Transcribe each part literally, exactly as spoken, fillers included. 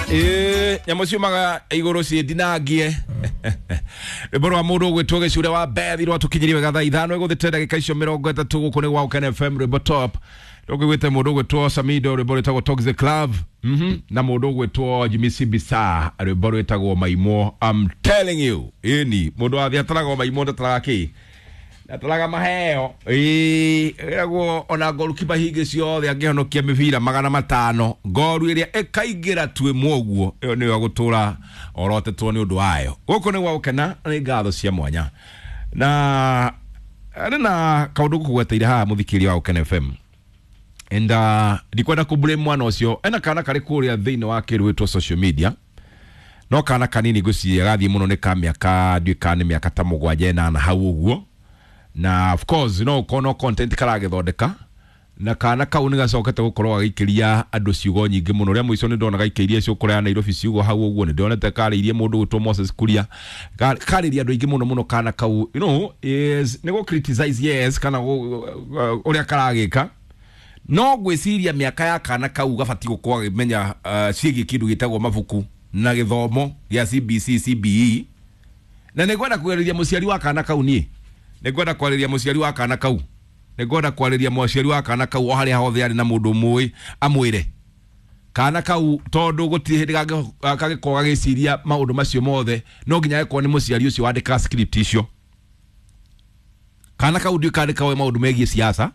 Ĩĩ, nyamũ ciumaga igũrũ ciĩndinangie. Rwĩmbo rwa mũndũ ũgwĩtwo Gĩcure wa Bethi rwatũkinyirie wega thaa ithano ĩgũthĩte ndagĩka icio mĩrongo ĩtatũ. Gũkũ nĩ gwa Gũkena F M, rwĩmbo top rũkĩgwĩte mũndũ ũgwĩtwo Samido, rwĩmbo rwĩtagwo Toxic Love, mhm na mũndũ ũgwĩtwo Jimmy Sibisa, rwĩmbo rwĩtagwo Maimwo. I'm telling you, ĩni mũndũ wa ataraga maimwo, ndataraga kĩ, ndataraga maheo. Ĩĩ, ĩragwo ona goalkeeper hingĩ ciothe angĩhonokia mĩbira magana matano, ngoru ĩrĩa ĩkaingĩra tu ĩmwe ũguo, ĩyo nĩyo gũtũra orotetwo nĩ ũndũ wayo. Gũkũ nĩ gwa gũkena, nĩ ngatho cia mwanya na arĩ na kaũndũ gũkũgweteire haha, mũthikĩria wa Gũkena F M, and uh, ndikwenda kũ blame mwana ũcio. Ena kana karĩ kũrĩa thĩinĩ wa kĩndũ gwĩtwo social media, no kana kanini ngwĩciria gathiĩ mũno nĩ ka mĩaka, ndiũĩ kana nĩ mĩaka ta mũgwanja ĩnana hau ũguo, na of course no ũkorwo no content karagĩthondeka, na kana kau nĩ gacokete gũkorwo gagĩikĩria andũ ciugo nyingĩ mũno. Rĩa mũico nĩ ndona gaikĩirie cũkũra ya Nairobi ciugo hau ũguo, nĩ ndonete karĩirie mũndũ gwĩtwo Moses Kuria, Ka- karĩria andũ aingĩ mũno mũno. Kana kau, you know is nĩ gũ criticize, yes, kana gũ- ũrĩa karagĩka, no ngwĩciria mĩaka ya kana kau gabatiĩ gũkorwo agĩmenya uh, ciĩgiĩ kĩndũ gĩtagwo mabuku na gĩthomo gĩa C B C, C B E. Na nĩ ngwenda kwarĩria mũciari wa kana kau, niĩ nĩ ngwenda kwarĩria mũciari wa kana kau, nĩ ngwenda kwarĩria mũciari wa kana kau o harĩa hothe arĩ na mũndũ mũĩ amwĩre kana kau, tondũ gũtirĩ hĩndĩ kangĩ- kangĩkorwo gagĩciria maũndũ macio mothe, no nginya agĩkorwo nĩ mũciari ũcio wandĩkaga script icio. Kana kau ndiũĩ kana nĩ koĩ maũndũ megiĩ siasa,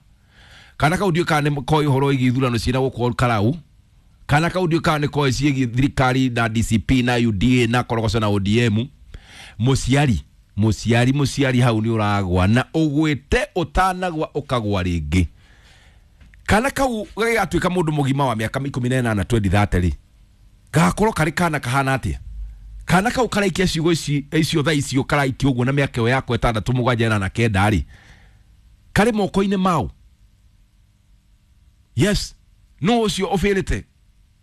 kana kau ndiũĩ kana nĩ koĩ ũhoro wĩgiĩ ithurano ciĩna gũkũ Karau, kana kau ndiũĩ kana nĩ koĩ ciĩgiĩ thirikari na D C P na U D A na korogoco na O D M. Mũciari, mũciari, mũciari, hau nĩ ũragwa na ũgwĩte ũtanagwa ũkagwa rĩngĩ. Kana kau gagĩgatuĩka mũndũ mũgima wa mĩaka ikũmi na ĩnana twenty thirty rĩ, gakorwo karĩ kana kahana atĩa? Kana kau karaikia ciugo ici icio thaa icio karaikia ũguo na mĩaka ĩyo yako ĩtandatũ, mũgwanja, ĩnana, kenda rĩ, karĩ moko-inĩ mau? Yes, no ũcio ũbĩrĩte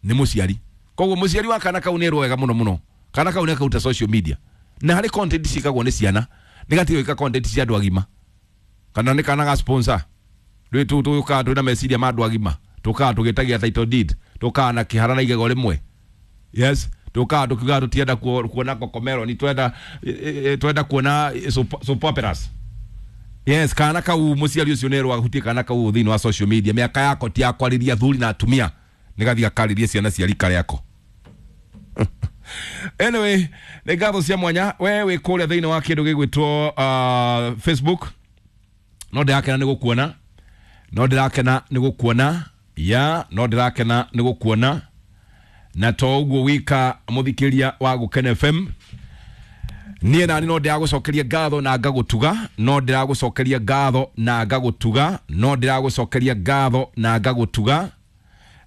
nĩ mũciari. Koguo mũciari wa kana kau nĩ wega mũno mũno. Kana kau nĩ akaruta social media na harĩ content ciĩkagwo nĩ ciana, nĩ gatige gwĩka content cia andũ agima. Kana nĩ kana ga sponsor rĩ, tu tũkaga twĩna meciria ma andũ agima, tũkaga tũgĩtagia title deed, tũkaga na kĩhara na igego rĩmwe. Yes, tũkaga tũkiugaga tũtienda kuo- kuona Cocomelon, ni twenda eh, eh, twenda kuona eh, soap soap operas. Yes, kana kau, mũciari ũcio nĩerwo ahutie kana kau thĩinĩ wa social media. Mĩaka yako ti ya kwarĩria athuri na atumia, nĩ gathiĩ gakarĩrie ciana cia rika rĩako. Anyway, nĩ ngatho cia mwanya we wĩ kũrĩa thĩinĩ wa kĩndũ gĩgwĩtwo uh, Facebook. No ndĩrakena nĩ gũkuona, no ndĩrakena nĩ gũkuona ya, no ndĩrakena nĩ gũkuona. Na to ũguo wika, mũthikĩria wa Gũkena F M, niĩ nani no ndĩragũcokeria ngatho na ngagũtuga, no ndĩragũcokeria ngatho na ngagũtuga, no ndĩragũcokeria ngatho na ngagũtuga,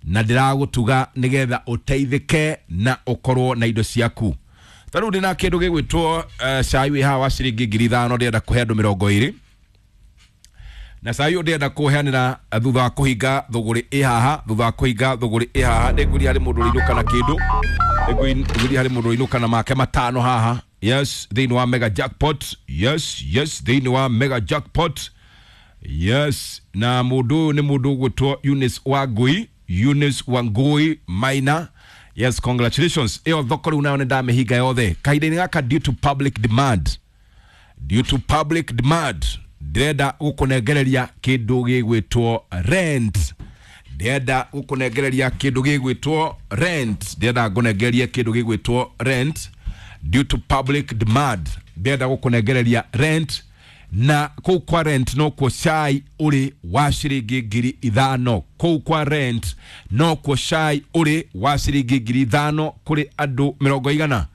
na ndĩragũtuga nĩgetha ũteithĩke na ũkorwo na indo ciaku. Ta rĩu ndĩna kĩndũ gĩgwĩtwo uh, cai wĩ haha wa ciringi ngiri ithano, ndĩrenda kũhe andũ mĩrongo ĩrĩ, na cai ũyũ ndĩrenda kũheanĩra thutha wa kũhinga thũgũrĩ ĩ haha. Thutha wa kũhinga thũgũrĩ ĩ haha, nĩngwĩria harĩ mũndũ ũrĩinũka na kĩndũ, nĩngwĩria harĩ mũndũ ũrĩinũka na make matano haha. Yes, thĩinĩ wa mega jackpot. Yes, yes, thĩinĩ wa mega jackpot. Yes, na mũndũ ũyũ nĩ mũndũ ũgwĩtwo Eunice Wangui, Eunice Wangui Maina. Yes, congratulations. Ĩyo thoko rĩu nayo nĩ ndamĩhinga yothe kahinda-inĩ gaka due to public demand. Due to public demand, ndĩrenda gũkũnengereria kĩndũ gĩgwĩtwo rent, ndĩrenda gũkũnengereria kĩndũ gĩgwĩtwo rent, ndĩrenda ngũnengererie kĩndũ gĩgwĩtwo rent. Due to public demand, ndĩrenda gũkũnengereria rent, na kũu kwa rent nokuo cai ũrĩ wa ciringi ngiri ithano. Kũu kwa rent nokuo cai ũrĩ wa ciringi ngiri ithano kũrĩ andũ mĩrongo igana,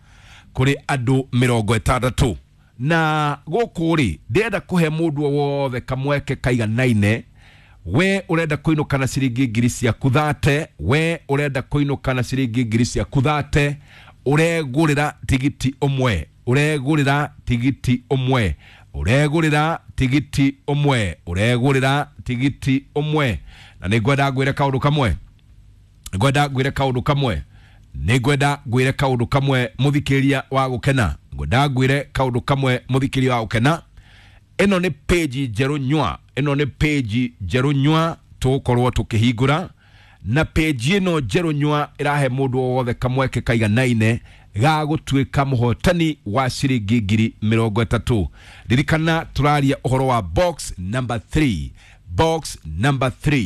kũrĩ andũ mĩrongo ĩtandatũ. Na gũkũ rĩ, ndĩrenda kũhe mũndũ o wothe kamweke kaiganaine. We ũrenda kũinũka na ciringi ngiri ciaku thate, we ũrenda kũinũka na ciringi ngiri ciaku thate, ũregũrĩra tigiti ũmwe, ũregũrĩra tigiti ũmwe, ũregũrĩra tigiti ũmwe, ũregũrĩra tigiti ũmwe. Na nĩ ngwenda ngwĩre kaũndũ kamwe, ngwenda ngwĩre kaũndũ kamwe, nĩ ngwenda ngwĩre kaũndũ kamwe, mũthikĩria wa Gũkena, ngwenda ngwĩre kaũndũ kamwe, mũthikĩria wa Gũkena. Ĩno nĩ page njerũ nywa, ĩno nĩ page njerũ nywa tũgũkorwo tũkĩhingũra. Na page ĩno njerũ nyua ĩrahe mũndũ o wothe kamweke kaiganaine ga gũtuĩka mũhotani wa ciringi ngiri mĩrongo ĩtatũ. Ririkana tũraria ũhoro wa box number three, box number three.